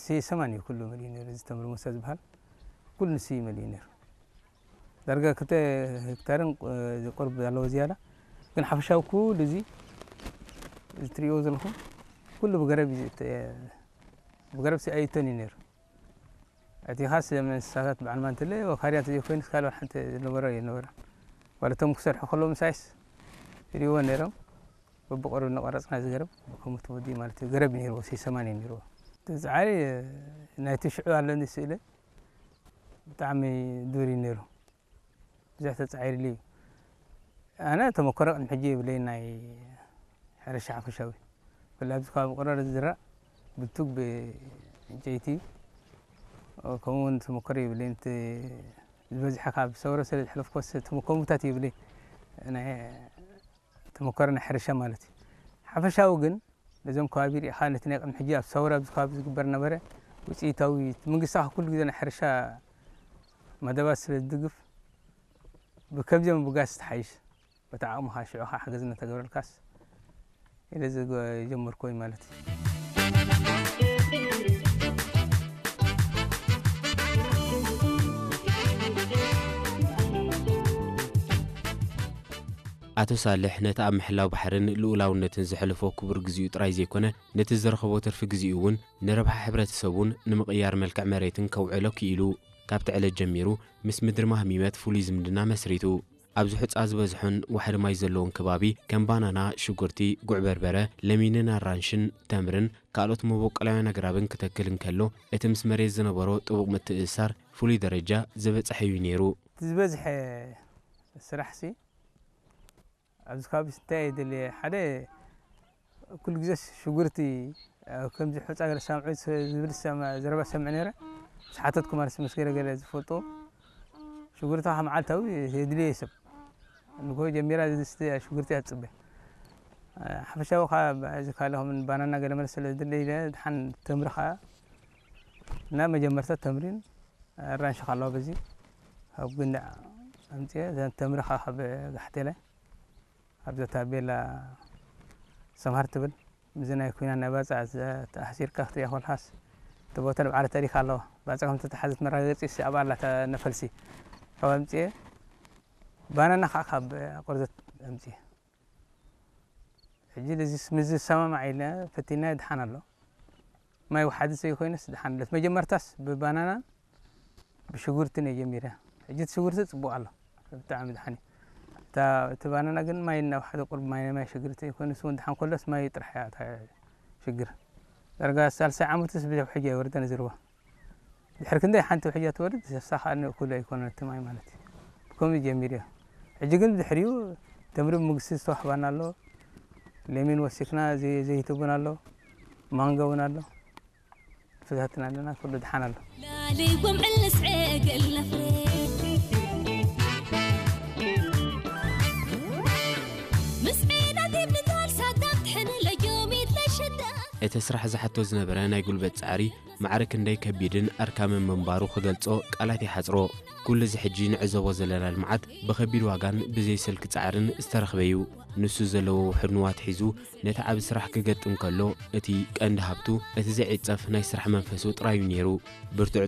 እቲ ሰማን እዩ ኩሉ መሊኡ ነይሩ። እዚ ተምሪ ሙሳ ዝበሃል ኩሉ ንሱ እዩ መሊኡ ነይሩ። ዳርጋ ክልተ ሄክታርን ቁ-፣ ቁርብ ኣለዎ ዝያዳ። ግን ሓፈሻዊ ኩሉ እዚ፣ እዚ ትርእይዎ ዘለኹም ኩሉ ብገረብ እዩ ዝእተ-፣ ብገረብ ሲ ኣይእተን እዩ ነይሩ። እቲ ኻስ እንስሳታት በዓል ማንትለ ወኻርያ እንተዘይኮይኑ ካልእ ሓንቲ ዝነበሮ የነበረ። ዋላ እቶም ክሰርሑ ከለዉ ምሳይስ ይርእይዎ ነይሮም። በብቆርብ እናቋረጽና ዝገረብ ብከምኡ ተወዲኡ ማለት እዩ። ገረብ እዩ ነይርዎ፣ ሰማንያ እዩ ነይርዎ። እቲ ጻዕሪ ናይቲ ሽዑ ኣለኒ ስእለ ብጣዕሚ ዱር እዩ ነይሩ። ብዙሕ ተጻዒርሉ እዩ። ኣነ ተመኮረ ቅድሚ ሕጂ የብለይን ናይ ሕርሻ ሓፈሻዊ። ብፍላይ ኣብዚ ከባቢ ቆረር ዝዝራእ ብቱግ ብዕንጨይቲ፣ ከምኡ እውን ተመኮረ የብለይን። እቲ ዝበዝሐ ካብ ሰውረ ስለ ዝሕለፍኩስ ተመኮሙታት የብለይን። ናይ ተመኮረ ናይ ሕርሻ ማለት እዩ። ሓፈሻዊ ግን ነዞም ከባቢ ርኢኻ ነቲ ናይ ቅድሚ ሕጂ ኣብ ሰውረ ኣብዚ ከባቢ ዝግበር ነበረ ውፅኢታዊ መንግስቲ ኩሉ ግዜ ናይ ሕርሻ መደባት ስለ ዝድግፍ ብከምዚኦም ብጋስ ትሓይሽ በቲ ዓቕምኻ ሽዑ ኸዓ ሓገዝ እናተገበረልካስ ኢለ ዝገ-፣ ዝጀመርኩ ወይ ማለት እዩ። ኣቶ ሳልሕ ነቲ ኣብ ምሕላው ባሕርን ልኡላውነትን ዘሕለፎ ክቡር ግዜኡ ጥራይ ዘይኮነ፣ ነቲ ዝረኸቦ ትርፊ ግዜኡ እውን ንረብሓ ሕብረተሰቡን ንምቕያር መልክዕ መሬትን ከውዕሎ ክኢሉ። ካብቲ ዕለት ጀሚሩ ምስ ምድሪ ማህሚመት ፍሉይ ዝምድና መስሪቱ። ኣብዚ ሑጻ ዝበዝሖን ዋሕዲ ማይ ዘለዎን ከባቢ ከም ባናና፣ ሽጉርቲ፣ ጉዕ በርበረ፣ ለሚንን ኣራንሽን፣ ተምርን ካልኦት መበቆላውያን ኣግራብን ክተክል እንከሎ፣ እቲ ምስ መሬት ዝነበሮ ጥቡቕ ምትእስሳር ፍሉይ ደረጃ ዝበጽሐ እዩ ነይሩ። እቲ ዝበዝሐ ስራሕሲ ኣብዚ ከባቢ እንታይ እየ ደልየ? ሓደ ኩሉ ግዜ ሽጉርቲ፣ ኣብ ከምዚ ሑጻ ገለ ሳምዑ ዝብል ሰማ-፣ ዘረባ ሰምዕ ነይረ። ምስ ሓተትኩ ማለት ምስ ገለ ገለ ዝፈልጦ ሽጉርቲ ካብ መዓልታዊ የድልየ ሰብ። ንግሆ ጀሚራ ዝስተ ሽጉርቲ እያ ትጽበ። ሓፈሻዊ ከኣ እዚ ካልእ ከም ባናና ገለ መለ ስለ ዝድለ ኢለ ድሓን ተምሪ ከኣ እና መጀመርታ ተምሪን ኣራንሺ ከ ኣለዋ በዚ ካብ ጉንዳዕ ኣምጽኤ እዘን ተምሪ ከኣ ካብ ጋሕቴላይ ኣብዛ ታቤላ ሰምሃር ትብል፣ ምስዚ ናይ ኲናት ናይ ባጽዕ ተኣሲርካ ክትሪኣ ከለኻስ፣ እቲ ቦታ ንባዕሉ ታሪኽ ኣለዎ። ባጽዕ ከም ዝተታሕዘት መረጋገጺ እሲ ኣብኣ ኣላ እታ ነፈልሲ። ካብ ኣምጽኤ፣ ባናና ከኣ ካብ ቆርዘት ኣምጽኤ። ሕጂ እዚ ምስ ዝሰማማዕ ኢለ ፈቲና ድሓን ኣሎ። ማይ ወሓዚ ዘይኮይኑስ ድሓን ኣሎ። መጀመርታስ ብባናናን ብሽጉርትን እየ ጀሚረ። ሕጂ እቲ ሽጉርቲ ጽቡቕ ኣሎ። ብጣዕሚ ድሓን እዩ። እታ፣ እቲ ባናና ግን ማይ እናወሓዘ ቁሩብ ማይ፣ ማይ ሽግርቲ ኮይኑ፣ እሱ እውን ድሓን ከሎስ ማይ ጥራሕ እያ እታ ሽግር። ዳርጋ ሳልሳይ ዓመትስ ብዙሕ ሕጂ ኣይወርደን ዝርዋ። ድሕሪ ክንደይ ሓንቲ ውሕጃ ትወርድ፣ ዘሳ ከኣ ንእኩል ኣይኮነን እቲ ማይ ማለት እዩ። ብከምኡ ጀሚሩ እዩ። ሕጂ ግን ብድሕሪኡ ተምሪ መንግስቲ ዝተዋህባና ኣሎ። ለሚን ወሲኽና ዘይ-፣ ዘይትቡን ኣሎ። ማንጎ እውን ኣሎ። ተፈታትና ኣለና፣ ኩሉ ድሓን ኣሎ። ላሊ ጉምዕል ንስዔ ገለኽሬ። ምስዒና ዲብ ንጋል ሳዳም ትሕን ለጆሚት ለሸዳ። እቲ ስራሕ ዝሓቶ ዝነበረ ናይ ጉልበት ጻዕሪ ማዕረ ክንደይ ከቢድን ኣድካምን ምንባሩ ክገልጾ ቃላት ይሓጽሮ። ኩሉ እዚ ሕጂ ንዕዘቦ ዘለና ልምዓት ብኸቢድ ዋጋን ብዘይ ስልኪ ጻዕርን ዝተረኽበ እዩ። ንሱ ዘለዎ ውሑድ ንዋት ሒዙ ነቲ ዓቢ ስራሕ ክገጥም ከሎ፣ እቲ ቀንዲ ሃብቱ እቲ ዘይዕጸፍ ናይ ስራሕ መንፈሱ ጥራይ እዩ ነይሩ። ብርቱዕ